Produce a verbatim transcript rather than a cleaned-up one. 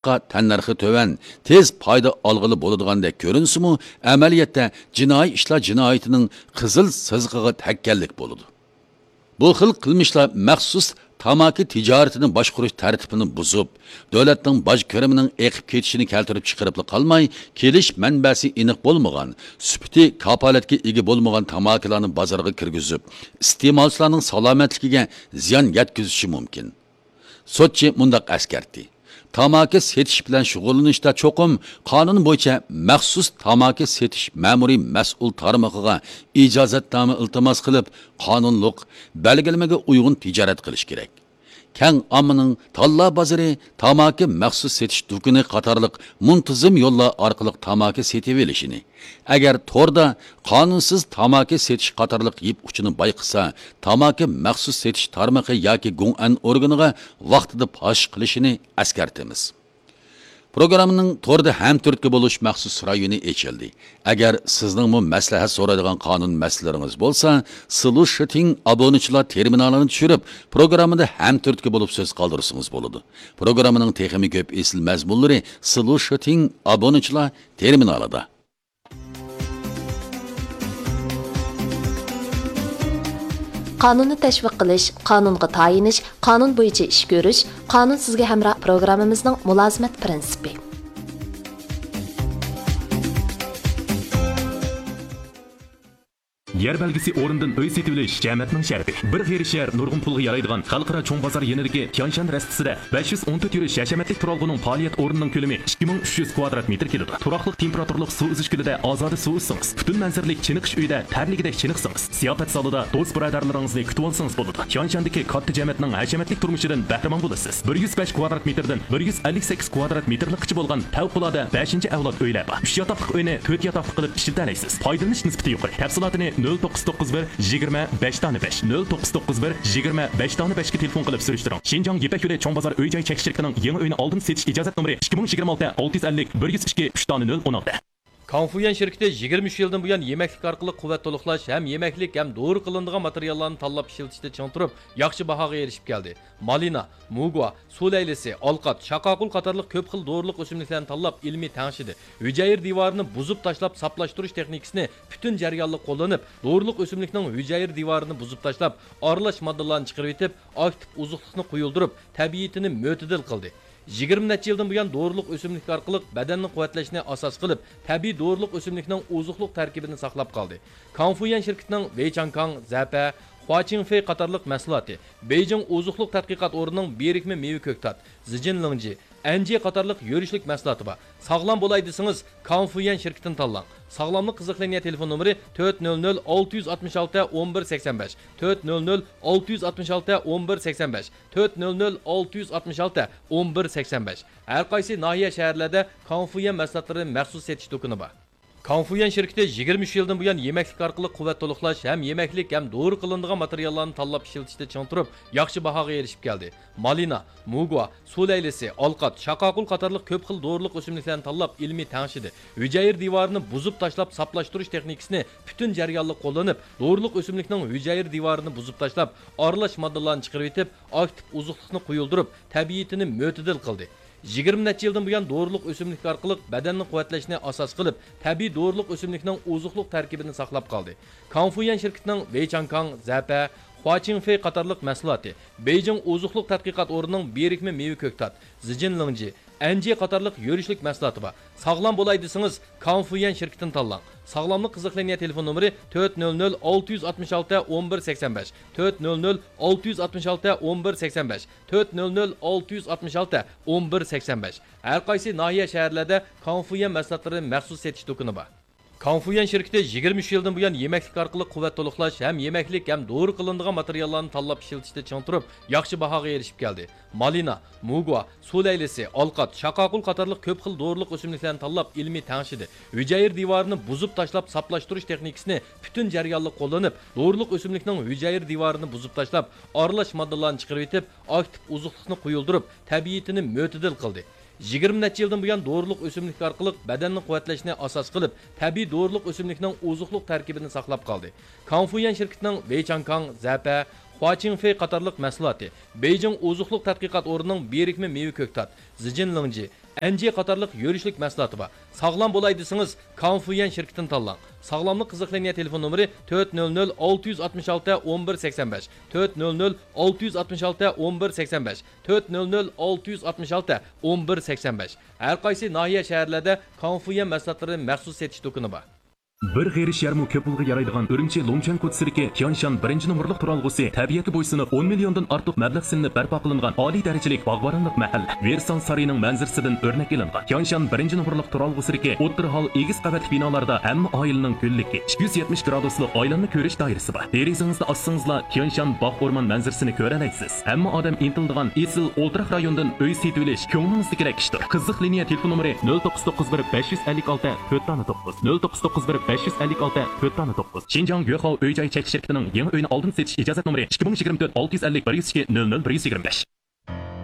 تەننەرخى تۆۋەن، تېز پايدا ئالغىلى بولىدىغاندەك كۆرۈنسىمۇ، ئەمەلىيەتتە جىنايى ئىشلار جىنايىتىنىڭ قىزىل سىزىقىغا تەگكەنلىك بولىدۇ. بۇ خىل قىلمىشلار مەخسۇس تاماكا تىجارىتىنى باشقۇرۇش تەرتىپىنى بۇزۇپ، دۆلەتنىڭ باج كىرىمىنىڭ ئېقىپ كېتىشىنى كەلتۈرۈپ چىقىرىپلا قالماي، كېلىش مەنبەسى ئېنىق بولمىغان، سۈپىتى كاپالەتكە ئىگە بولمىغان تاماكىلارنى بازارغا كىرگۈزۈپ، ئىستېمالچىلارنىڭ سالامەتلىكىگە زىيان يەتكۈزۈشى مۇمكىن. سوتچى مۇنداق ئەسكەرتتى: تاماكا سېتىش بىلەن شۇغۇللىنىشتا چوقۇم قانۇن بويىچە مەخسۇس تاماكا سېتىش مەمۇرىي مەسئۇل تارمىقىغا ئىجازەتنامە ئىلتىماس قىلىپ، قانۇنلۇق بەلگىلىمىگە ئۇيغۇن تىجارەت قىلىش كېرەك. كەڭ ئاممىنىڭ تاللا بازىرى، تاماكا مەخسۇس سېتىش دۇكىنى قاتارلىق مۇنتىزىم يوللار ئارقىلىق تاماكا سېتىۋېلىشىنى، ئەگەر توردا قانۇنسىز تاماكا سېتىش قاتارلىق يىپ ئۇچىنى بايقىسا، تاماكا مەخسۇس سېتىش تارمىقى ياكى گۇڭئەن ئورگىنىغا ۋاقتىدا پاش قىلىشىنى ئەسكەرتىمىز. پروگراممىنىڭ توردا ھەمتۈرتكە بولۇش مەخسۇس رايونى ئېچىلدى. ئەگەر سىزنىڭمۇ مەسلىھەت سورايدىغان قانۇن مەسىلىلىرىڭىز بولسا، سلۇشىتىڭ ئابۇنىچىلار تېرمىنالىنى چۈشۈرۈپ، پروگراممىدا ھەمتۈرتكە بولۇپ سۆز قالدۇرسىڭىز بولىدۇ. پروگراممىنىڭ تېخىمۇ كۆپ ئېسىل مەزمۇنلىرى سلۇشىتىڭ ئابۇنىچىلار تېرمىنالىدا. قانۇننى تەشۋىق قىلىش، قانۇنغا تايىنىش، قانۇن بويىچە ئىش كۆرۈش، قانۇن سىزگە ھەمراھ پروگراممىمىزنىڭ مۇلازىمەت پىرىنسىپى. يەر بەلگىسى ئورنىدىن ئۆي سېتىۋېلىش جەمەتنىڭ شەرىپى. بىر غېرىب شەھەر نۇرغۇن پۇلغا يارايدىغان خەلقئارا چوڭ بازار يېنىدىكى تيانشان رەستىسىدە بەش يۈز ئون تۆت يۈرۈش ھەشەمەتلىك تۇرالغۇنىڭ پائالىيەت ئورنىنىڭ كۆلىمى ئىككى مىڭ ئۈچ يۈز كۋادرات مېتىر كېلىدۇ. تۇراقلىق تېمپېراتۇرىلىق سۇ ئۈزۈش كۆلىدە ئازادە سۇ ئۈزسىڭىز، پۈتۈن مەنزىرىلىك چېنىقىش ئۆيىدە تەرلىگۈدەك چېنىقسىڭىز، زىياپەت زالىدا دوست بۇرادەرلىرىڭىزنى كۈتۈۋالسىڭىز بولىدۇ. تيانشاندىكى كاتتا جەمەتنىڭ ھەشەمەتلىك تۇرمۇشىدىن بەھرىمەن بولىسىز. بىر يۈز بەش كۋادرات مېتىردىن بىر يۈز ئەللىك سەككىز كۋادرات مېتىرلىكقىچە بولغان پەۋقۇلئاددە بەشىنچى ئەۋلاد ئۆيلەر بار. ئۈچ ياتاقلىق ئۆينى تۆت ياتاقلىق قىلىپ ئىشلىتەلەيسىز. پايدىلىنىش نىسبىتى يۇقىرى. تەپسىلاتىنى نۆل توققۇز توققۇز بىر يىگىرمە بەش دانە بەش، نۆل توققۇز توققۇز بىر يىگىرمە بەش دانە بەشكە تېلېفون قىلىپ سۈرۈشتۈرۈڭ. شىنجاڭ يىپەك يولى چوڭ بازار ئۆي جاي چەكلىك شىركىتىنىڭ يېڭى ئۆينى ئالدىن سېتىش ئىجازەت نومۇرى ئىككى مىڭ يىگىرمە ئالتە ئالتە يۈز ئەللىك بىر يۈز ئىككى ئۈچ دانە نۆل ئون ئالتە. كاڭفۇيۈەن شىركىتى يىگىرمە ئۈچ يىلدىن بۇيان يېمەكلىك ئارقىلىق قۇۋۋەت تولۇقلاش ھەم يېمەكلىك ھەم دورا قىلىنىدىغان ماتېرىياللارنى تاللاپ ئىشلىتىشتە چىڭ تۇرۇپ، ياخشى باھاغا ئېرىشىپ كەلدى. مالىنا، موگۋا، سۇ لەيلىسى، ئالقات، شاقاقۇل قاتارلىق كۆپ خىل دورىلىق ئۆسۈملۈكلەرنى تاللاپ، ئىلمىي تەڭشىدى. ھۈجەيرە دىۋارىنى بۇزۇپ تاشلاپ ساپلاشتۇرۇش تېخنىكىسىنى پۈتۈن جەريانلىق قوللىنىپ، دورىلىق ئۆسۈملۈكنىڭ ھۈجەيرە دىۋارىنى بۇزۇپ تاشلاپ، ئارىلاش ماددىلارنى چىقىرىۋېتىپ، ئاكتىپ ئوزۇقلۇقنى قويۇلدۇرۇپ، تەبىئىتىنى مۆتىدىل قىلدى. يىگىرمە نەچچە يىلدىن بۇيان دورىلىق ئۆسۈملۈك ئارقىلىق بەدەننى قۇۋۋەتلەشنى ئاساس قىلىپ، تەبىئىي دورىلىق ئۆسۈملۈكنىڭ ئوزۇقلۇق تەركىبىنى ساقلاپ قالدى. كاڭفۇيۈەن شىركىتىنىڭ ۋېيچاڭكاڭ، زەپە، خۇاچىڭفېي قاتارلىق مەھسۇلاتى، بېيجىڭ ئوزۇقلۇق تەتقىقات ئورنىنىڭ بىرىكمە مېۋە كۆكتات، زىجىنلىڭجى، ئەنجى قاتارلىق يۈرۈشلۈك مەھسۇلاتى بار. ساغلام بولاي دېسىڭىز، كاڭفۇيۈەن شىركىتىنى تاللاڭ. ساغلاملىق قىزىقلىنىيە تېلېفون نومۇرى تۆت نۆل نۆل ئالتە يۈز ئاتمىش ئالتە ئون بىر سەكسەن بەش، تۆت نۆل نۆل ئالتە يۈز ئاتمىش ئالتە ئون بىر سەكسەن بەش، تۆت نۆل نۆل ئالتە يۈز ئاتمىش ئالتە ئون بىر سەكسەن بەش. ھەر قايسى ناھىيە، شەھەرلەردە كاڭفۇيۈەن مەھسۇلاتلىرى مەخسۇس سېتىش دۇكىنى بار. كاڭفۇيۈەن شىركىتى يىگىرمە ئۈچ يىلدىن بۇيان يېمەكلىك ئارقىلىق قۇۋۋەت تولۇقلاش ھەم يېمەكلىك ھەم دورا قىلىنىدىغان ماتېرىياللارنى تاللاپ ئىشلىتىشتە چىڭ تۇرۇپ، ياخشى باھاغا ئېرىشىپ كەلدى. مالىنا، موگۋا، سۇ لەيلىسى، ئالقات، شاقاقۇل قاتارلىق كۆپ خىل دورىلىق ئۆسۈملۈكلەرنى تاللاپ، ئىلمىي تەڭشىدى. ھۈجەيرە دىۋارىنى بۇزۇپ تاشلاپ ساپلاشتۇرۇش تېخنىكىسىنى پۈتۈن جەريانلىق قوللىنىپ، دورىلىق ئۆسۈملۈكنىڭ ھۈجەيرە دىۋارىنى بۇزۇپ تاشلاپ، ئارىلاش ماددىلارنى چىقىرىۋېتىپ، ئاكتىپ ئوزۇقلۇقنى قويۇلدۇرۇپ، تەبىئىتىنى مۆتىدىل قىلدى. يىگىرمە نەچچە يىلدىن بۇيان دورىلىق ئۆسۈملۈك ئارقىلىق بەدەننى قۇۋۋەتلەشنى ئاساس قىلىپ، تەبىئىي دورىلىق ئۆسۈملۈكنىڭ ئوزۇقلۇق تەركىبىنى ساقلاپ قالدى. كاڭفۇيۈەن شىركىتىنىڭ ۋېيچاڭكاڭ، زەپە، خۇاچىڭفېي قاتارلىق مەھسۇلاتى، بېيجىڭ ئوزۇقلۇق تەتقىقات ئورنىنىڭ بىرىكمە مېۋە كۆكتات، زىجىنلىڭجى، ئەنجى قاتارلىق يۈرۈشلۈك مەھسۇلاتى بار. ساغلام بولاي دېسىڭىز، كاڭفۇيۈەن شىركىتىنى تاللاڭ. ساغلاملىق قىزىقلىنىيە تېلېفون نومۇرى تۆت نۆل نۆل ئالتە يۈز ئاتمىش ئالتە ئون بىر سەكسەن بەش، تۆت نۆل نۆل ئالتە يۈز ئاتمىش ئالتە ئون بىر سەكسەن بەش، تۆت نۆل نۆل ئالتە يۈز ئاتمىش ئالتە ئون بىر سەكسەن بەش. ھەر قايسى ناھىيە، شەھەرلەردە كاڭفۇيۈەن مەھسۇلاتلىرى مەخسۇس سېتىش دۇكىنى بار. كاڭفۇيۈەن شىركىتى يىگىرمە ئۈچ يىلدىن بۇيان يېمەكلىك ئارقىلىق قۇۋۋەت تولۇقلاش ھەم يېمەكلىك ھەم دورا قىلىنىدىغان ماتېرىياللارنى تاللاپ ئىشلىتىشتە چىڭ تۇرۇپ، ياخشى باھاغا ئېرىشىپ كەلدى. مالىنا، موگۋا، سۇ لەيلىسى، ئالقات، شاقاقۇل قاتارلىق كۆپ خىل دورىلىق ئۆسۈملۈكلەرنى تاللاپ، ئىلمىي تەڭشىدى. ھۈجەيرە دىۋارىنى بۇزۇپ تاشلاپ ساپلاشتۇرۇش تېخنىكىسىنى پۈتۈن جەريانلىق قوللىنىپ، دورىلىق ئۆسۈملۈكنىڭ ھۈجەيرە دىۋارىنى بۇزۇپ تاشلاپ، ئارىلاش ماددىلارنى چىقىرىۋېتىپ، ئاكتىپ ئوزۇقلۇقنى قويۇلدۇرۇپ، تەبىئىتىنى مۆتىدىل قىلدى. يىگىرمە نەچچە يىلدىن بۇيان دورىلىق ئۆسۈملۈك ئارقىلىق بەدەننى قۇۋۋەتلەشنى ئاساس قىلىپ، تەبىئىي دورىلىق ئۆسۈملۈكنىڭ ئوزۇقلۇق تەركىبىنى ساقلاپ قالدى. كاڭفۇيۈەن شىركىتىنىڭ ۋېيچاڭكاڭ، زەپە، خۇاچىڭفېي قاتارلىق مەھسۇلاتى، بېيجىڭ ئوزۇقلۇق تەتقىقات ئورنىنىڭ بىرىكمە مېۋە كۆكتات، زىجىنلىڭجى، ئەنجى قاتارلىق يۈرۈشلۈك مەھسۇلاتى بار. ساغلام بولاي دېسىڭىز، كانفۇيۈەن شىركىتىنى تاللاڭ. ساغلاملىق قىزىق لىنىيە تېلېفون نومۇرى تۆت نۆل نۆل ئالتە يۈز ئاتمىش ئالتە ئون بىر سەكسەن بەش، تۆت نۆل نۆل ئالتە يۈز ئاتمىش ئالتە ئون بىر سەكسەن بەش، تۆت نۆل نۆل ئالتە يۈز ئاتمىش ئالتە ئون بىر سەكسەن بەش. ھەر قايسى ناھىيە، شەھەرلەردە كانفۇيۈەن مەھسۇلاتلىرىنىڭ مەخسۇس سېتىش دۇكىنى بار. بىر غېرىش يەرمۇ كۆپ يىلغا يارايدىغان ئۈرۈمچى لۇڭچۈەن كوچىسىدىكى تيانشان بىرىنچى نومۇرلۇق تۇرالغۇسى تەبىئەتكە بويسۇنۇپ، ئون مىليوندىن ئارتۇق مەبلەغ سېلىنىپ بەرپا قىلىنغان ئالىي دەرىجىلىك باغۋەنلىك مەھەللە. ۋېرسال سارىيىنىڭ مەنزىرىسىدىن ئۆرنەك ئېلىنغان تيانشان بىرىنچى نومۇرلۇق تۇرالغۇسىدىكى ئوتتۇرا ھال ئېگىز قەۋەتلىك بىنالاردا ھەممە ئائىلىنىڭ گۈللۈكى، ئىككى يۈز يەتمىش گرادۇسلۇق ئايلانما كۆرۈش دائىرىسى بار. دېرىزىڭىزنى ئاچسىڭىزلا، تيانشان باغ ئورمان مەنزىرىسىنى كۆرەلەيسىز. ھەممە ئادەم ئىنتىلىدىغان ئېسىل ئولتۇراق رايونىدىن ئۆي سېتىۋېلىش كۆڭلىڭىزدىكىدەك ئىشتۇر. قىزىق لىنىيە تېلېفون نومۇرى نۆل توققۇز توققۇز بىر بەش يۈز ئەللىك ئالتە تۆت دانە توققۇز، نۆل توققۇز توققۇز بىر بەش يۈز ئەللىك ئالتە تۆت دانە توققۇز. شىنجاڭ يۆخاۋ ئۆي جاي چەكلىك شىركىتىنىڭ يېڭى ئۆينى ئالدىن سېتىش ئىجازەت نومۇرى ئىككى مىڭ يىگىرمە تۆت ئالتە يۈز ئەللىك بىر يۈز ئىككى نۆل نۆل بىر يۈز يىگىرمە بەش.